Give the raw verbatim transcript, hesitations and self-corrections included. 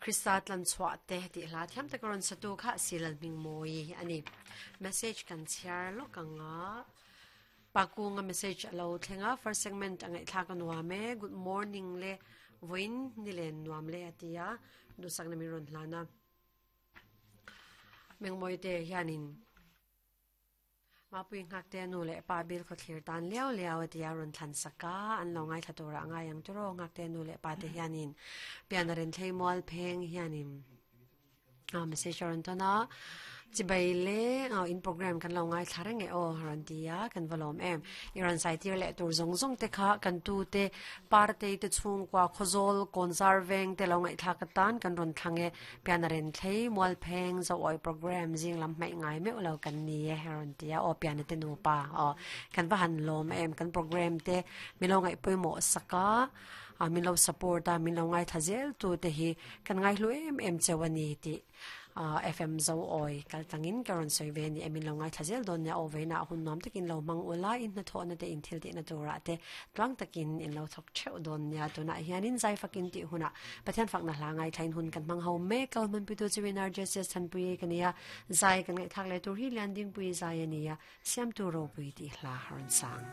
Krista tlan chhuah te tih hla thiam tak rawn satu kha silal hming mawi ani. Message kan chhiar lawk anga pakunga message alo thlenga first segment angai thla ka nuam e good morning le voin nilen nuam le atia dusak na mi ron hlana mengmoi te hianin mapui ngak te nu le pa bil kho thlir tan liao liao atia ron thlan saka an lo ngai thatura ngai ang turo ngak te nu le pa te hianin pianaren thlei mual pheng hianin a message ron tona chibai le in program kan lo ngai thla reng e o ron tia kan valom em iran sai tir le tur zong zong te kha kan tu te parte te chung kwa khozol konzar veng te lo ngai thla ka tan kan ron thlange pianaren thlei mual pheng zo oi program jing lam mai ngai me lo kan ni e ron tia o pian te nu pa o kan va han lom em kan program te mi lo ngai poimo saka a min lo support a min lo ngai thazel tu te hi kan ngai hlu em em chewani ti F M zo oi kal tangin karon soi ve ni emin lo ngai thazel don nya o ve na hun nom takin lo mang ula in na tho na te in thil ti na tura te tlang takin in lo thok cheu don nya tu na hianin zai fakin ti huna pathian fak na hla ngai thain hun kan mang ho me kal man pu tu chiwinar Jesus than pui kania zai kan ngai thak le tur hi landing pui zai ania siam tu ro pui ti hla haron sang.